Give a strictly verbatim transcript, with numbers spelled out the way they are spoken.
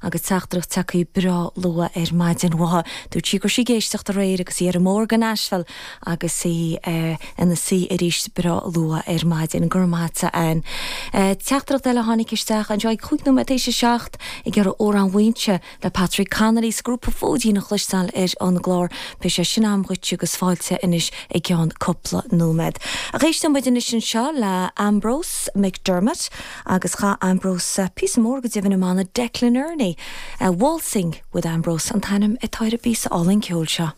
agus teachtaireacht tagtha breá luath ar maidin uaithi. Dúirt sí go raibh sí ag éisteacht aréir agus í ar an mbóthar go Nashville agus í uh, ina suí arís breá luath ar maidin gur máta an. Uh, teachtaireacht eile tháinig isteach anseo ag cúig nóiméad théis a seacht ag iarraidh Amhrán Mhaínse le Patrick Connolly is grúpa Fóidín a chloisteáil ar an gclár beidh sé sin agam dhuit agus fáilte anois i gceann cúpla nóiméad. Ach éisteann muid anois anseo le Ambrose McDermott agus cha Ambrose píosa mór go deimhin i mbanna Declan Ernie. Uh, Waltzing with Ambrose an t-ainm atá ar an bpíosa álainn ceoil seo.